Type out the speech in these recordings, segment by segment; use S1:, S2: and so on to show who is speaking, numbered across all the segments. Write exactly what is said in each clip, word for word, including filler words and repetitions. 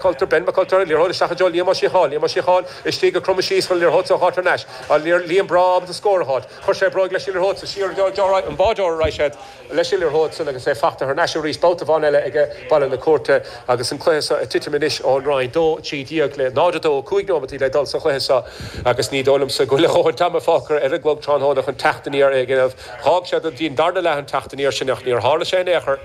S1: McCulter, Ben McCulter, liathróid isteach i dtreo Liam Ó Síocháin, Liam Ó Síocháin istigh ag cromadh síos chun an liathróid seo a fháilt thar n-ais. An Liam breá ábalta scór a fháilt. Chuir sé bróig leis an liathróid sa siar an báideoir a raibh siad leis an liathróid san agus é fachta thar n-ais arís babhta amháin eile aige Baile na Cúirte agus an cluiche seo ag titim anois ón Rinn dó trí déag le náid a dó cúig nóimeataí le dul sa chluiche seo agus ní dóigh liomsa go bhfuil a dhóthain ama fágtha ar an gclog tráthnóna chun teacht aniar a dhéanamh. D'fhág sé go dtí an darna leath an teacht aniar sin ach níor tharla sé in aon chor.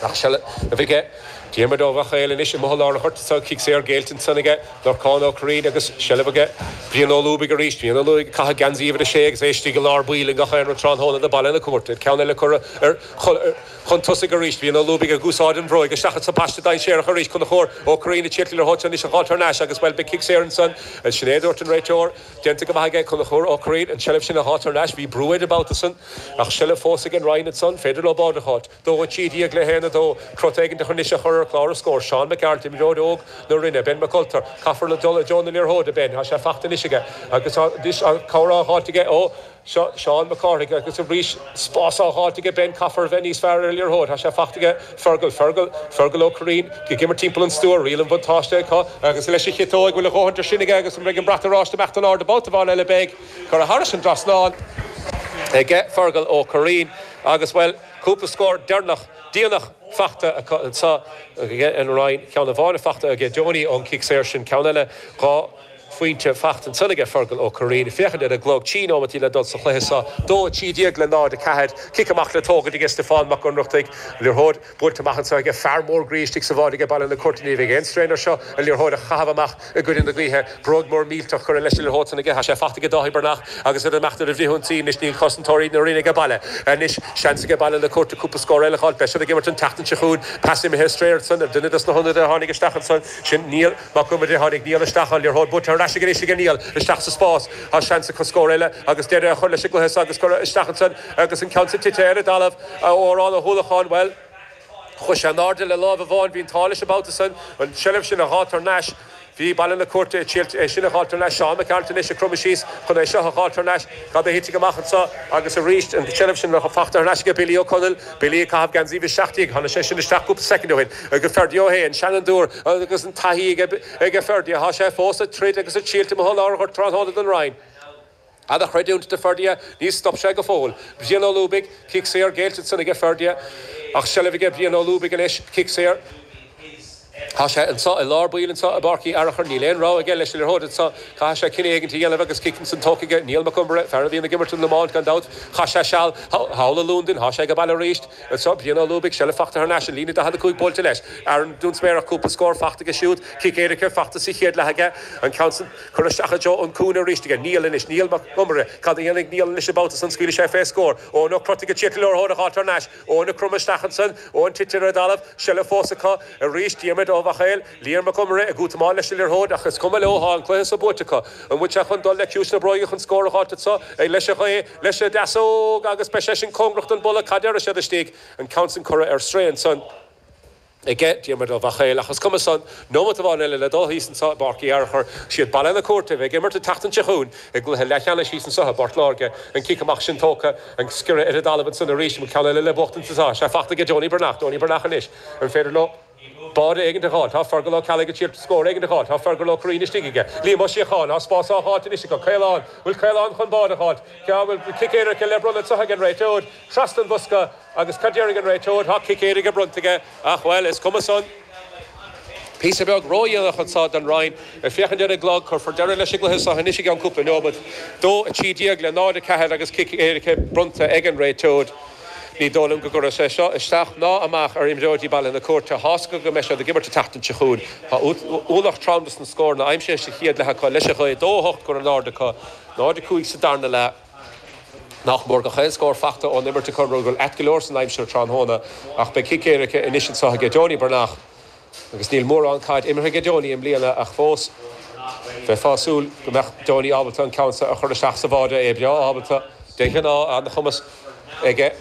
S1: Ach seilbh aige Diarmuid Ó Mhachail anois i mbun lár an ghoirt anso, cic saor géillte ansan aige Lorcán Ó Curraoin agus seilbh aige Brian Ó Lúbaigh arís. Brian Ó Lúbaigh ag caitheamh geansaí uimhir a sé agus é istigh i lár baill i ngach aon rud tráthnóna do Baile na Cúirte. Ceann eile curtha ar chun tosaigh arís. Brian Ó Lúbaigh ag úsáid an bhróig isteach sa paiste dainséarach arís. Conchúr Ó Curraoin ag tíocht le anois a dh'fháilt thar n-ais agus bhuel beidh cic saor ansan. Sin é a dúirt an réiteoir. Déanta go maith aige Conchúr Ó Curraoin an tseilbh sin a dh'fháilt thar n-ais. Bhí brú air an babhta san ach seilbh fós ag an Rinn ansan. Féidir leo báide a dh'fháilt. Dó a trí déag le haon a dó. Crot éigin anois a chur ar chlár na scór. Seán Mac Gearailt, imreoir óg na Rinne. Ben McCulter. Caithfear le dul i dtreo na liathróide Ben. Tá sé fachta anois aige agus tá anois an cabhair á dh'fháilt aige ó seo Seán Mac Cárthaigh agus arís spás á dh'fháilt aige Ben. Caithfear a bheith níos fearr ar an liathróid. Tá sé fachta aige Fergal. Fergal. Fergal Ó Curraoin ag imirt timpeall an stua. Riail an bhuntáiste acu agus leis an chiotóg bhfuil a dhóthain sin aige agus an mbeidh an brat oráiste ag imeacht in airde babhta amháin eile beidh curtha thairis an dtrasnán aige Fergal Ó Curraoin agus bhuel cúpla scór deireanach déanach fachta acu anseo aige an Rinn ceann amháin fachta aige Deonaí ón cic saor sin ceann eile dhá phointe fachta ansan aige Fergal Ó Curraoin féachaint ar an gclog trí nóimeataí le dul sa chluiche seo dó trí déag le náid a ceathair cic amach le tógaint aige Stiofán Mac Ionnrachtaigh liathróid buailte amach anseo aige fear mór groí istigh sa bháide aige Baile na Cúirte ní bheidh aon strain air seo an liathróid a chaitheamh amach i gcoinne na gaoithe bróg mór millteach curtha leis an liathróid san aige tá sé fachta aige Dáithí Breathnach agus ar imeacht ar a bhfrithionsaí anois níl cosantóirí na Rinne ag baile anois seans aige Baile na Cúirte cúpla scór eile a fháil beidh siad ag imirt an tseachtain seo chugainn pas imithe ar strae ansan ar duine des na hionadaithe a tháinig isteach ansan sin Niall Mac Iomaire tháinig Niall isteach an liathróid buailte ar ais anois aige Niall isteach sa spás tá seans acu scór eile agus deireadh a chur leis an gcluiche agus curtha isteach ansan agus an ceann tite ar an dtalamh Odhrán Ó hUallacháin bhuel Chuaigh sé in airde le lámh amháin bhí an t-ádh leis an babhta san an tseilbh sin a dh'fháilt thar n-ais Bhí Baile na Cúirte é sin a dh'fháilt thar n-ais Seán Mac Gearailt anois ag cromadh síos chun é seo a dh'fháilt thar n-ais cad a thitfidh amach anseo agus arís an tseilbh sin le fachta thar n-ais aige Billy Ó Conaill Billy ag caitheamh geansaí uimhir seacht déag tháinig sé sin isteach cúpla soicind ó shin agus Ferdia Ó hAodha an seanfhondúir agus an taithí aige aige Ferdia tá sé fós ag troid agus ag triailt i mbun lár an ghoirt tráthnóna don Rinn. An-chreidiúint do Ferdia ní stop sé go fóill. Brian Ó Lúbaigh cic saor géillte ansan aige Ferdia ach seilbh aige Brian Ó Lúbaigh anois cic saor. Tá sé anseo i lár baill anseo i bPáirc Uí Fhearachair níl aon rogha aige leis an liathróid anseo caithfidh sé cinneadh éigin a dhéanamh agus cic ansan tógtha aige Niall Mac Iomaire fear a bhíonn ag imirt an iomáint gan dabht chaith sé seal thall i Londain tá sé ag baile arís anseo Brian Ó Lúbaigh seilbh fachta thar n-ais an líne daichead a cúig buailte leis Aaron Dún Sméarach cúpla scór fachta aige siúd cic éirice fachta sa chéad leath aige an ceann san curtha isteach i dtreo an cúinne arís aige Niall anois Niall Mac Iomaire cad a dhéanfaidh Niall anois an babhta san scaoilfidh sé fé scór Eoin Ó Crotaigh ag tíocht liathróid a dh'fháilt thar n-ais Eoin ag cromadh isteach ansan Eoin tite ar an dtalamh seilbh fós acu arís Diarmuid Ó Mhachail Liam Mac Iomaire ag útamáil leis an liathróid ach is cuma leo tá an cluiche seo buaite acu an bhfuil sé chun dul le ciumhais na bróige chun scór a dh'fháilt anseo ag leis an ghaoth leis an deasóg agus beidh sé sin cóngarach don bpolla cad déarfaidh siad istigh an ceann san curtha ar strae ansan aige Diarmuid Ó Mhachail ach is cuma san nóimeat amháin eile le dul thíos anseo i bPáirc Uí Fhearachair siad Baile na Cúirte a bheidh ag imirt an tseachtain seo chugainn i gcluiche leathcheannais thíos anseo i bPort Láirge an cic amach sin tógtha an sciorradh ar an dtalamh ansan arís an ceann eile le buachtaint anseo sé fachta aige Deonaí Breathnach Deonaí Breathnach anois an féidir leo báide éigin a dh'fháil tá Fergal Ó Ceallaigh ag triail scór éigin a dh'fháil tá Fergal Ó Curraoin istigh aige Liam Ó Síocháin tá spás á dh'fháilt anois acu Caolán bhfuil Caolán chun báide a dh'fháilt ceann bhfuil cic éirice le bronnadh anseo ag an réiteoir trasna an bhosca agus cad déarfaidh an réiteoir tá cic éirice bronnta aige ach bhuel is cuma san Píosa beag ródhéanach anseo don Rinn ag féachaint ar an gclog cuirfear deireadh leis an gcluiche seo anois i gceann cúpla nóiméad dó a trí déag le náid a ceathair agus cic éirice bronnta ag an réiteoir. Ní dóigh liom go gcuirfidh sé seo isteach ná amach ar imreoirí Baile na Cúirte tá's acu go mbeidh siad ag imirt an tseachtain seo chugainn. Tá ualach trom dos na scóranna aimsithe sa chéad leath acu leis an ghaoth dó a hocht curtha in airde acu, náid a cúig sa darna leath. Nach mór gach aon scór fachta ón imirt acu rud go bhfuil ait go leor san aimsir tráthnóna ach beidh cic éirice anois anseo aige Deonaí Breathnach agus níl mórán caid imeartha aige Deonaí i mbliana ach fós bheifeá ag súil go mbeadh Deonaí ábalta an ceann seo a chur isteach sa bháide é breá ábalta de ghnáth an-chumas aige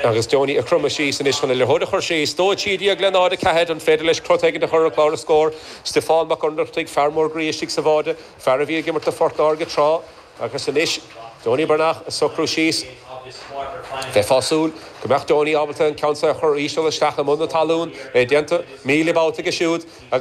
S1: agus Deonaí ag cromadh síos anois chun an liathróid a chur síos dó a trí déag le náid a ceathair an féidir leis crot éigin a chur ar chlár na scór Stiofán Mac Ionnrachtaigh fear mór groí istigh sa bháide fear a bhí ag imirt do Phort Láirge tráth agus anois Deonaí Breathnach ag socrú síos Bheifeá ag súil go mbeadh Donie ábalta an ceann a chur íseal isteach i mbun na talún é déanta míle babhta siúd.